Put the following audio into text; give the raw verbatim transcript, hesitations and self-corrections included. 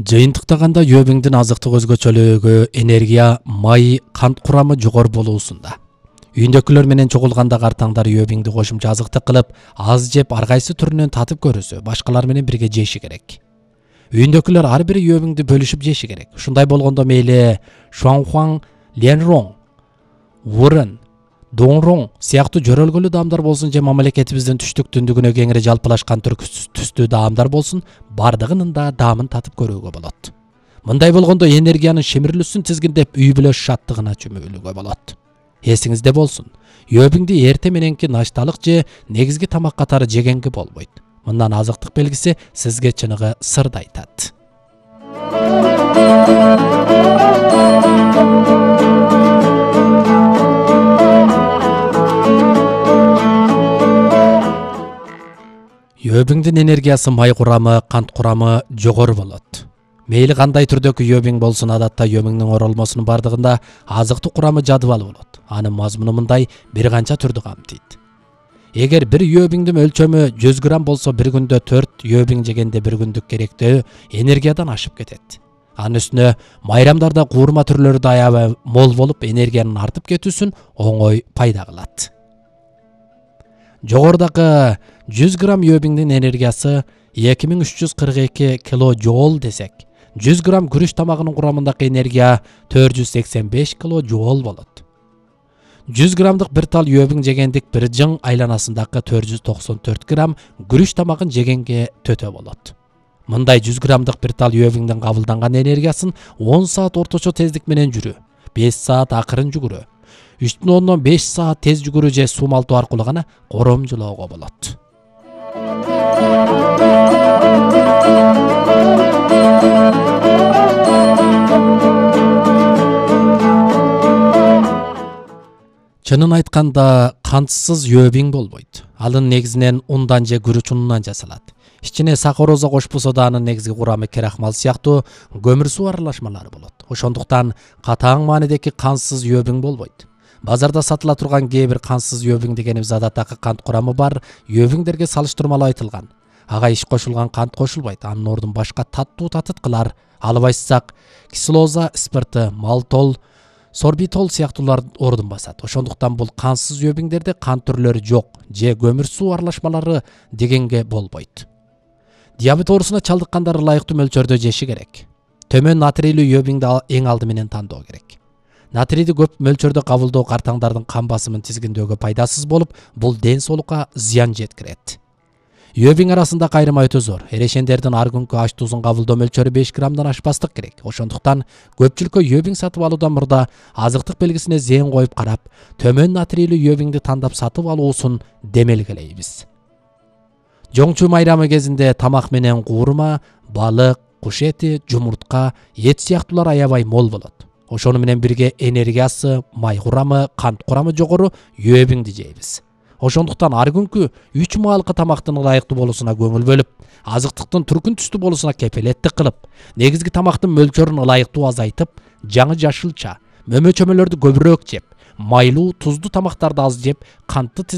Жыйынтыктаганда йөбиңдин азыктык өзгөчөлүгү энергия, май, кант курамы жогору болуусунда. Үйүндөгүлөр менен чогулганда картаңдар йөбиңди кошумча азыктык кылып, аз жеп ар кайсы түрүнөн татып көрүүсү, башкалар менен бирге жеши керек. Үйүндөгүлөр ар бири йөбиңди бөлүшүп жеши керек. Ушундай болгондо мейли шуаңхуаң, ленроң, вурын, доңроң сыяктуу жөрөлгөлүү даамдар болсун же мамлекетибиздин түштүк түндүгүнө кеңири жалпылашкан түрк түстүү даамдар болсун, бардыгынын да даамын татып көрүүгө болот. Мындай болгондо энергиянын шемирилүүсүн тизгиндеп, үй бүлө шаттыгына чөмүлүүгө болот. Эсиңизде болсун, йөбиңди эрте мененки нашталык же негизги тамак катары жегенге болбойт. Мындан азыктык белгиси сизге чыныгы сырды айтат. Йөбиңдин энергиясы, май курамы, кант курамы жогору болот. Мейли кандай түрдөгү йөбиң болсун, адатта йөбиңдин оролмосунун бардыгында азыктык курамы жадыбалы болот. Анын мазмуну мындай бир канча түрдү камтыйт. Эгер бир йөбиңдин өлчөмү жүз грамм болсо, бир күндө төрт йөбиң жегенде бир күндүк керектөө энергиядан ашып кетет. Анын үстүнө майрамдарда куурма түрлөрү да аябай мол болуп, энергиянын артып кетүүсүн оңой пайда кылат. Жогорудагы жүз грамм йөбиңдин энергиясы эки миң үч жүз кырк эки килоджоул десек, жүз грамм күрүч тамагынын курамындагы энергия төрт жүз сексен беш килоджоул болот. жүз граммдык бир тал йөбиң жегендик бир жың айланасындагы төрт жүз токсон төрт грамм күрүч тамагын жегенге төтө болот. Мындай жүз граммдык бир тал йөбиңдин кабылданган энергиясын он саат орточо тездик менен жүрүү, беш саат акырын жүгүрүү, үч бүтүн ондон беш саат тез жүгүрүү же сумалтуу аркылуу гана коромжулоого болот. Чынын айтканда, кантсыз йөбиң болбойт. Анын негизинен ундан же күрүч унунан жасалат. Ичине сахароза кошпосо да анын негизги курамы крахмал сыяктуу көмүр суу аралашмалары болот. Ошондуктан катаң маанидеги кантсыз йөбиң болбойт. Базарда сатыла турган кээ бир кантсыз йөбиң дегенибиз адаттагы кант курамы бар йөбиңдерге салыштырмалуу айтылган. Ага иш кошулган кант кошулбайт. Анын ордун башка таттуу татыткылар, алып айтсак, кислоза, спирты, малтол, сорбитол сыяктуулар ордун басат. Ошондуктан бул кантсыз йөбиңдерде кант түрлөрү жок же көмүр суу аралашмалары дегенге болбойт. Диабет оорусуна чалдыккандар ылайыктуу мөлчөрдө жеши керек. Төмөн натрийлүү йөбиңди эң алды менен тандоо керек. Натрийди көп мөлчөрдө кабылдоо картаңдардын кан басымын тизгиндөөгө пайдасыз болуп, бул ден соолукка зыян жеткирет. Йөбиң арасында кайрыма өтө зор. Эрешендердин ар күнкү аш тузун кабылдоо мөлчөрү беш граммдан ашпастык керек. Ошондуктан көпчүлүккө йөбиң сатып алуудан мурда азыктык белгисине зээн коюп карап, төмөн натрийлүү йөбиңди тандап сатып алуусун демелгелейбиз. Жоңчу майрамы кезинде тамак менен куурма, балык, куш эти, жумуртка, эт сыяктуулар аябай мол болот. Ошону менен бирге энергиясы, май курамы, кант курамы жогору йөбиңди жейбиз. Ошондуктан ар күнкү үч маалкы тамактын ылайыктуу болуусуна көңүл бөлүп, азыктыктын түркүн түстүү болуусуна кепелеттик кылып, негизги тамактын мөлчөрүн ылайыктуу азайтып, жаңы жашылча, мөмө чөмөлөрдү көбүрөөк жеп, майлуу, туздуу тамактарды аз жеп, кантты